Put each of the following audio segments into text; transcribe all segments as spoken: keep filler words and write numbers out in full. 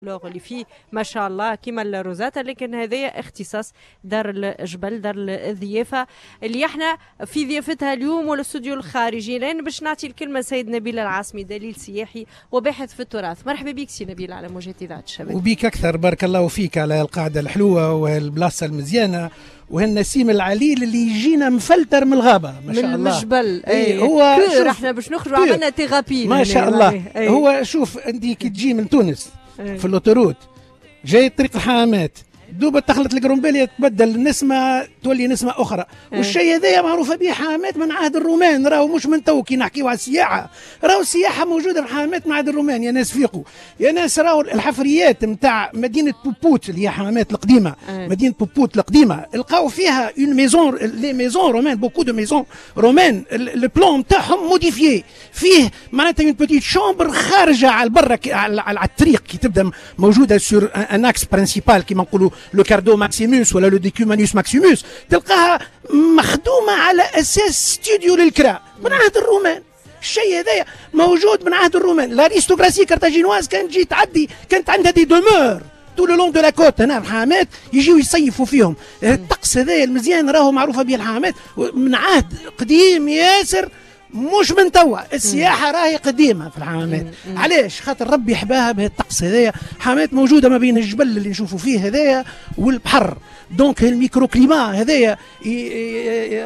اللي فيه ما شاء الله كيما الروزاتا، لكن هذايا اختصاص دار الجبل، دار الضيافة اللي احنا في ضيافتها اليوم والاستوديو الخارجي. لان باش نعطي الكلمة سيد نبيل العاصمي، دليل سياحي وباحث في التراث. مرحبا بك سي نبيل على موجات اذاعة الشباب. وبيك اكثر، بارك الله فيك على القعدة الحلوة والبلاصه المزيانه وهالنسيم العليل اللي يجينا مفلتر من الغابه، ما شاء الله، من الجبل. اي هو احنا باش نخرجوا عملنا thérapie. ما شاء الله. أي. هو شوف، انت كي تجي من تونس في l'autoroute جاي طريق الحمامات، دوبا تخلط القرمبالية تبدل النسمة، تولي نسمة أخرى. والشيء هذايا معروفة به حمامات من عهد الرومان، راهو مش من تو. كي نحكيو على السياحة، راهو السياحة موجودة في حمامات من عهد الرومان. يا ناس فيقوا يا ناس، راهو الحفريات نتاع مدينة بوبوت اللي هي حمامات القديمة، أي. مدينة بوبوت القديمة لقاو فيها une maison، les maisons romaines، beaucoup de maisons romaines، le plan نتاعهم modifié، فيه معناتها une petite chambre خارجة على البرة على الطريق، كي تبدا موجودة sur un axe principal كيما نقولوا le cardo maximus ولا le decumanus maximus، تلقاها مخدومة على اساس ستوديو للكراء من عهد الرومان. الشيء هذايا موجود من عهد الرومان. l'aristocratie carthaginoise كانت تجي تعدي، كانت عندها des demeures tout le long de la côte هنا الحمامات، يجيو يصيفوا فيهم. الطقس هذايا المزيان راهو معروفة به الحمامات من عهد قديم ياسر، مش من توا. السياحة راهي قديمة في الحمامات. علاش؟ خاطر ربي حباها بهالطقس هذايا. حمامات موجودة ما بين الجبل اللي نشوفوا فيه هذايا والبحر، donc ال microclimat هذايا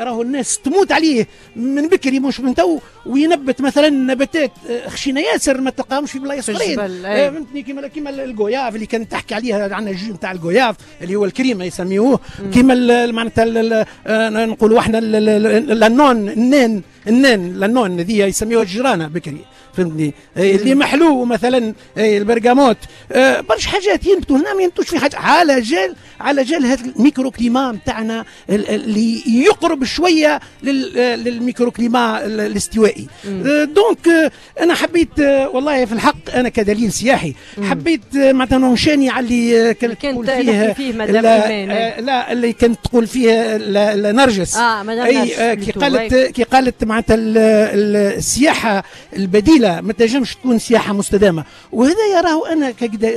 راهو الناس تموت عليه من بكري مش من تو. وينبت مثلا نباتات آه، خشينه ياسر ما تلقاهمش في بلايص اخرين، آه، فهمتني؟ كيما كيما ال goyave اللي كانت تحكي عليها، عندنا ال jus نتاع ال goyave اللي هو الكريمة يسميوه، كيما معناتها آه، نقولوا احنا l'annone، النان النان l'annone هذه يسميوها الجرانه بكري، فهمتني؟ اللي محلو مثلا البرغاموت، آه، برشا حاجات ينبتوا هنا ما ينبتوش في حاجه، على جال على جال هذا ال microclimat نتاعنا اللي يقرب شوية لل microclimat الاستوائي. آه، donc آه، انا حبيت، والله في الحق انا كدليل سياحي حبيت معناتها ننشاني على اللي كانت تقول فيه, فيه مدام. لا, لا، اللي كانت تقول فيه نرجس. اه مدام. اي، كي قالت كي قالت معناتها السياحة البديلة ما تنجمش تكون سياحة مستدامه. وهذا يراه انا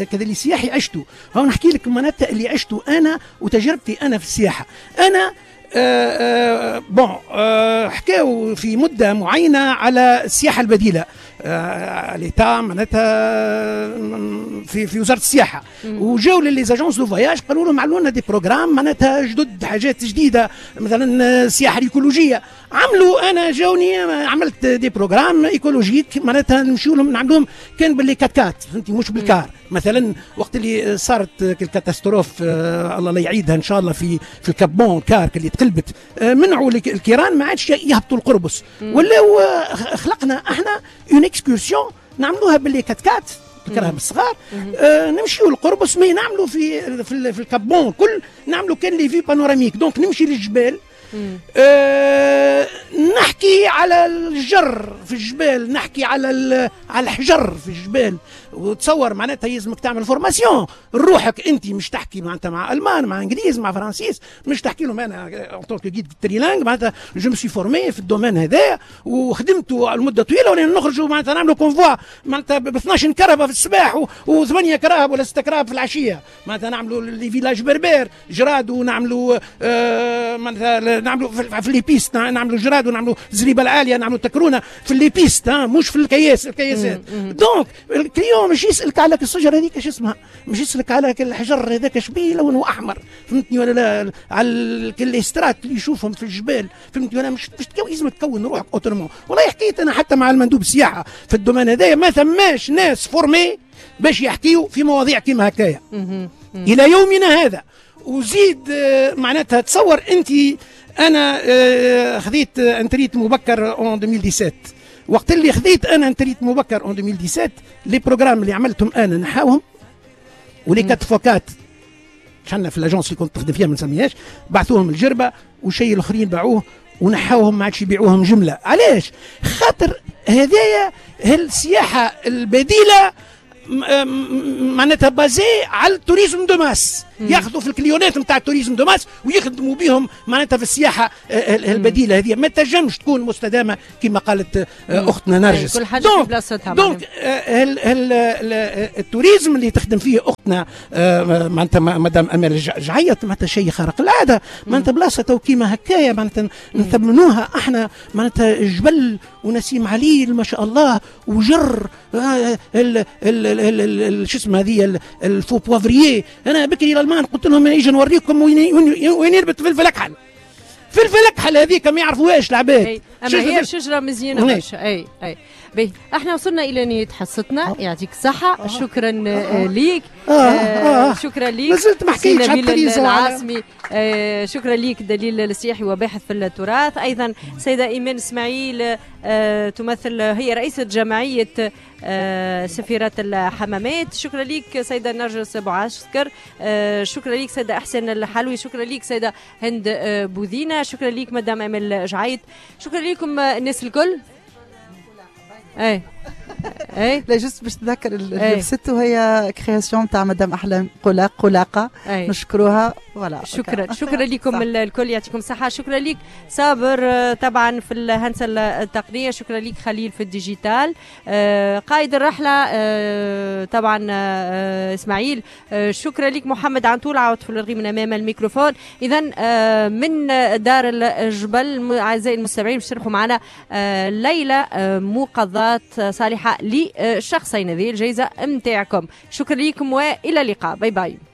كدليل سياحي عشته. هو نحكي لك معناتها اللي عشته انا وتجربتي انا في السياحة. انا آه آه bon آه حكاو في مده معينة على السياحة البديله، آه l'État معناتها في في وزارة السياحه، وجاو les agences de voyage قالوا لهم عملوا لنا des programmes معناتها جدد، حاجات جديده، مثلا السياحة الايكولوجيه. عملوا، انا جاوني، عملت des programmes écologiques، معناتها نمشيو لهم نعملوهم كان ب les quatre-quatre، فهمتي؟ مش بال car. مثلا وقت اللي صارت ال catastrophe، آه الله لا يعيدها ان شاء الله، في في ال Cap Bon، car اللي تقلبت، آه منعوا الكيران ما عادش يهبطوا القربص، ولاو آه، خلقنا احنا une excursion نعملوها ب les quatre-quatre، الكراهب الصغار، آه نمشيو للقربص، mais نعملوا في في, في ال Cap Bon كل نعملوا كان les vues panoramiques. donc نمشي للجبال، أه نحكي على الجر في الجبال، نحكي على على الحجر في الجبال. وتصور معناتها يلزمك تعمل formation روحك انت، مش تحكي معناتها مع المان، مع انجليز، مع فرنسيس، مش تحكي لهم. انا en tant que guide trilingue معناتها je me suis formé في ال domaine هذا وخدمته لمدة طويله. ولين نخرجوا معناتها نعملوا convoi معناتها ب اثناش كرهبه في الصباح وثمانية كراهب ولا ستة كراهب في العشيه، معناتها نعملوا les villages berbères جراد، ونعملوا آه معناتها نعملوا في les pistes، نعملوا جراد ونعملوا زريبه العاليه، نعملوا تكرونه في les pistes، مش في الكياس الكياسات. donc ال client مش يسالك على الشجرة هذيك اش اسمها، مش يسالك على الحجر هذاك شبيه لونه احمر، فهمتني ولا لا؟ على les strates اللي يشوفهم في الجبال، فهمتني ولا؟ مش مش لازم تكون روحك autrement. والله حكيت انا حتى مع المندوب السياحة في ال domaine هذايا، ما ثماش ناس formés باش يحكيوا في مواضيع كيما هكايا الى يومنا هذا. وزيد آه، معناتها تصور انت انا آه، خذيت une retraite مبكر en ألفين وسبعطاش. وقت اللي خذيت انا une retraite مبكر en ألفين وسبعطاش، les programmes اللي عملتهم انا نحاوهم، و les quatre fois quatre شحال في l'agence اللي كنت نخدم فيها، ما نسميهاش، بعثوهم الجربه، وشيء الاخرين باعوه ونحاوهم، ما عادش يبيعوهم جمله. علاش؟ خاطر هذايا السياحة البديلة معناتها basée على ال tourisme de masse. ياخذوا في ال client ات نتاع ال tourisme de masse ويخدموا بهم معناتها في السياحة البديلة هذه ما تنجمش تكون مستدامة كما قالت اختنا نرجس. كل حاجة في بلاصتها. donc ال tourisme اللي تخدم فيه اختنا معناتها مدام امال جعيط معناتها شيء خارق العادة، معناتها بلاصة تو كيما هكايا معناتها نثمنوها احنا، معناتها جبل ونسيم عليل ما شاء الله، وجر ال ال شو اسمه هذه ال faux poivrier. انا بكري الالمان قلت لهم اجي نوريكم وين وين ينبت فلفل اكحل، فلفل اكحل هذيك ما يعرفوهاش العباد. اما هي شجرة مزيانه برشا. اي اي باهي، احنا وصلنا الى نهاية حصتنا، يعطيك الصحة، شكرا ليك. آه آه آه شكرا ليك، مازلت ما حكيتش على العاصمي. آه شكرا ليك دليل السياحي وباحث في التراث. ايضا سيده ايمان اسماعيل آه تمثل، هي رئيسه جمعية آه سفيرات الحمامات. شكرا ليك سيده نرجس بوعسكر. آه شكرا ليك سيده احسن الحلوي. شكرا ليك سيده هند آه بوذينه. شكرا ليك مدام امل جعيط. شكرا لكم الناس الكل. اي اي لا juste باش تذكر اللي لبسته هي création تاع مدام احلام قلاق قلاقه، نشكروها. voilà شكرا شكرا لكم الكل، يعطيكم الصحة. شكرا لك صابر طبعا في الهندسة التقنية، شكرا لك خليل في ال digital، قائد الرحلة طبعا اسماعيل، شكرا لك محمد عنطول عاود في الرغي من امام الميكروفون. اذا من دار الجبل اعزائي المستمعين باش تربحوا معنا ليلة مقاضاه صالحه لشخصين، هذه الجائزة متاعكم. شكرا لكم والى اللقاء، bye bye.